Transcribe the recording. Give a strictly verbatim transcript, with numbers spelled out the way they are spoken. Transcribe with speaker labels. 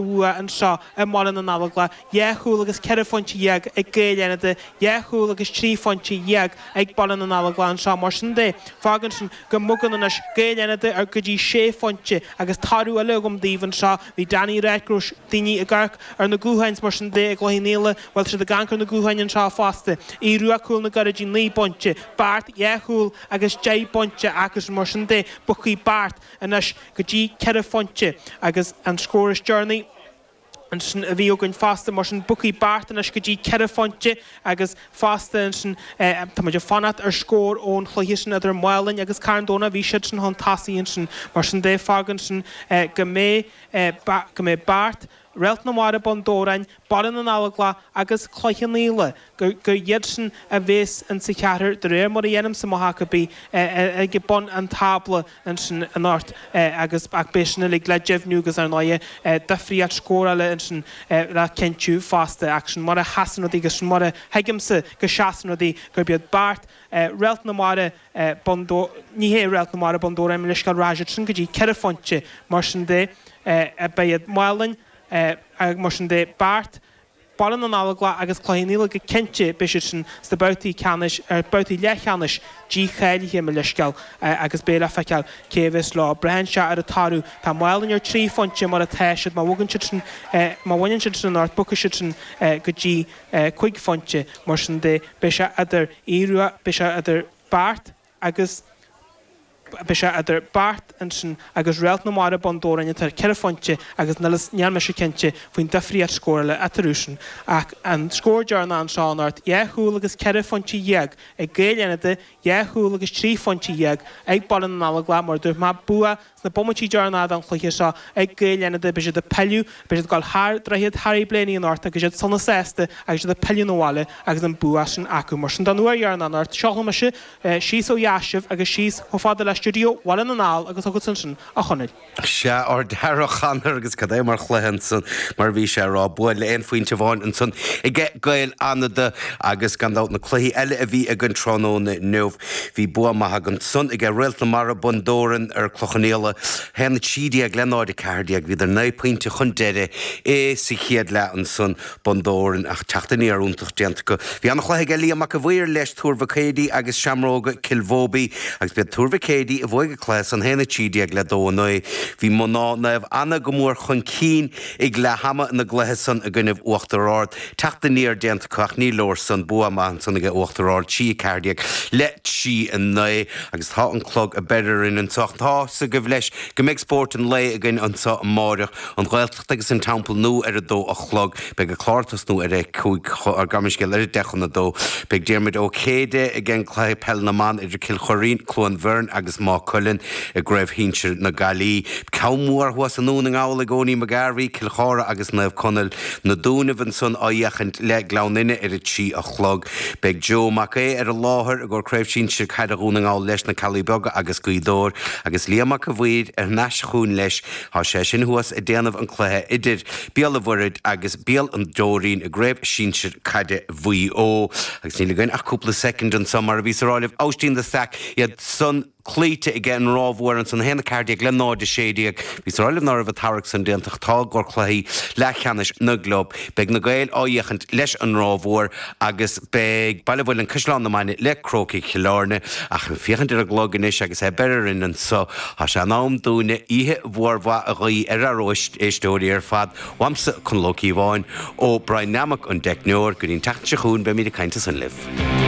Speaker 1: bhua anseo i mBaile na nGallóglach, dhá chúl agus ceithre phointe dhéag ag Gaeil Fhánada, dhá chúl agus trí phointe dhéag ag Baile na nGallóglach anseo. Mar sin de, fágann sin go mbogann anois Gaeil Fhánada ar go dtí sé phointe agus toradh eile agam daoibh anseo. Bhí Danny ag ráit go raibh daoine ag amharc ar na gutháin is mar sin de i gCloich Cheann Fhaola, bhuel tá siad ag amharc ar na gutháin anseo fosta. Aodh Rua Cúil na gCurrach naoi bpointe, Beart dhá chúl agus deich bpointe acusan mar sin de, bogfaidh Beart anois go dtí ceithre phointe agus an scór is deireanaí ansin a bhí againn fosta, mar sin bogfaidh Beart anois go dtí ceithre phointe agus fosta ansin tá muid ag fanacht ar scór ón chluiche sin idir Málainn agus Carn Domhnach, bhí siad sin chun tosaigh ansin, mar sin de fágann sin go mbeidh go mbeidh Beart, Réalt na Mara Bun Dobhráin, Baile na nGallóglach agus Cloich Cheann Fhaola, gur iad sin a bhéas insa cheathrar, de réir mar a dhéanaimse mo thaca bídh, ag bun an tábla ansin anocht agus ach beidh sin uilig le deimhniú agus ar ndóighe difríocht scórála ansin le cinntiú fosta ach sin mar a sheasann rudaí agus sin mar a thuigimse go seasann rudaí gurb iad Beart, Réalt na Mara, Bun ní hé Réalt na Mara Bun Dobhráin, mo leithscéal, rachaidh siad sin go dtí ceithre phointe mar sin de beidh iad Málainn, Mar sin de, Beart, Baile na nGallóglach agus Cloich Cheann Fhaola go cinnte, beidh siad sin sna babhtaí ceannais, ar babhtaí leathcheannais dícháilithe, mo leithscéal, agus beidh le feiceáil cé a bheas leo. Braitheann sé ar an toradh. Tá Málainn ar trí phointe mar atá siad, má bhogann siad sin, má bhaineann siad sin anocht, bogfaidh siad sin go dtí cúig phointe. Mar sin de, beidh sé idir Aodh Rua, beidh sé idir Beart agus. Beidh sé idir Beart ansin agus Réalt na Mara Bun Dobhráin atá ar ceithre phointe agus níl mise cinnte faoin difríocht scórála eatarthu sin ach an scór deireanach anseo anocht, dhá chúl agus ceithre phointe dhéag ag Gaeil Fhánada, dhá chúl agus trí phointe dhéag ag Baile na nGallóglach mar a dúirt mé, bua Sna bomaití deireanacha den chluiche seo ag Gaeil Fhánada, beidh siad ag pilleadh, beidh siad ag dul thar Droichead Harry Blaney anocht agus iad sona sásta agus iad ag pilleadh 'na bhaile agus an bua sin acu. Mar sin, don uair dheireanach anocht, seolfaidh mise síos ó dheas sibh agus síos chomh fada le stiúideo Bhaile na nGall agus chugatsa ansin, a Chonaill.
Speaker 2: Sea, ard-fhear a Chonor agus cad é mar chluiche ansan, mar a bhí sé a rá, bua le aon phointe amháin ansan aige Gaeil Fhánada agus gan dabht na cluichí eile a bhí againn tráthnóna inniu. Bhí bua maith ansan aige Réalt na Mara, Bun Dobhráin ar Cloich Cheann Fhaola, a haon a trí déag le náid a ceathair déag. Bhíodar naoi pointe chun deiridh i sa chéad leath ansan, Bun Dobhráin, ach teacht aniar iontach déanta acu. Bhí an-chluiche aige Liam Mac a' Mhaoir leis Tuar Mhic Éadaigh agus Seamróga Cill Bhóibí agus b'iad Tuar Mhic Éadaigh a bhuaigh an cluiche san, a haon a trí déag le dó a naoi. Bhí mná Naomh Anna go mór chun cinn ag leath ama ina gcluiche san i gcoinnibh Uachtar Ard. Teacht aniar déanta acu ach ní leor san. Bua maith ansan aige Uachtar Ard, trí a ceathair déag le trí a naoi agus tá an clog ag beir orainn anso. Ach tá 's agaibh leis go mbeidh spórt an lae againn anso amáireach, an Ghaeltacht agus an Teampall Nua ar a dó a chlog. Beidh an clár ag tosnú ar a cúig, gabh mo leithscéal, ar a deich chun a dó. Beidh Diarmuid Ó Céide ag an gcluiche peil na mban idir Cill Choirín, Cluain Bheirn agus Maigh Cuilinn i gCraobh Shinsir na Gaillimhe. Ceann mór thuas i nDún na nGall ag Owenie McGarvey, Cill Chartha agus Naomh Conaill. Na Dúnaibh ansan á fhéachaint le Gleann Fhinne ar a trí a chlog. Beidh Joe Mac Aodha ar an láthair i gcomhair Craobh Shinsir Caide Dhún na nGall leis na Ceallaigh Beaga agus Gaoth Dobhair agus Liam Mac a' Mhaoir ar n-ais chugainn leis. Tá sé sin thuas ag déanamh an cluiche idir Béal an Mhuirthead agus Béal an Dóirín i gCraobh Shinsir Caide Mhaigh Eo. Agus níl againn ach cúpla soicind anso mar a bhíos a rá libh, Aibhistín de Staic, iad san cloíte aige an Ráth Mhór ansan, a haon a ceathair déag le náid a sé déag. Bhíos a rá libh ná raibh an tarrac san déanta ach tá i gcomhair cluichí leathcheannais na gclub. Beidh na Gaeil á fhéachaint leis an Ráth Mhór agus beidh Baile Mhuilinn Caisleán na Mainge le Crócaigh Chill Airne. Ach ag féachaint ar an gclog anois agus é ag beir orainn anso, tá sé in am dúinne oíche mhór mhaith a ghuí ar ár éisteoirí ar fad. Uaimse, Conall Ó Cíobháin, ó Brian Nammock an teicneoir, go dtí an tseachtain seo chugainn beimid ag caint ansan libh.